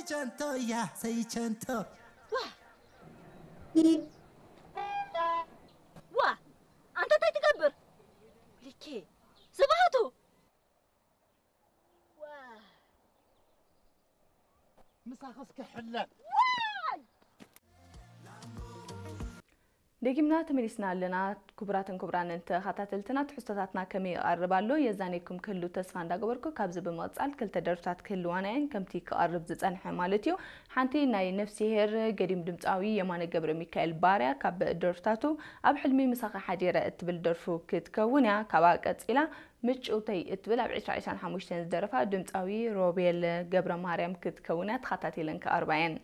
ቸንቶ እያ ሰይቸንቶ። ዋ ዋ፣ ኣንተ እንታይ ትገብር? ልኬ ስብሃቱ። ዋ ምሳኽስ ክሕለል። ደጊምና ተመሊስና ኣለና። ክቡራትን ክቡራንን ተኸታተልትና፣ ትሕዝቶታትና ከመይ ይቐርብ ኣሎ የዛነየኩም ክህሉ ተስፋ እንዳገበርኩ፣ ካብዚ ብምቕጻል ክልተ ደርፍታት ክህልዋና እየን፣ ከምቲ ክቐርብ ዝጸንሐ ማለት እዩ። ሓንቲ ናይ ነፍስሄር ገዲም ድምጻዊ የማነ ገብረ ሚካኤል ባርያ ካብ ደርፍታቱ ኣብ ሕልሚ ምሳኻ ሓዲረ እትብል ደርፉ ክትከውን እያ። ካብኣ ቀጺላ ምጭውተይ እትብል ኣብ ዕስራ ዕስራን ሓሙሽተን ዝደረፋ ድምጻዊ ሮቤል ገብረ ማርያም ክትከውን እያ። ተኸታቲለን ክቐርባ እየን።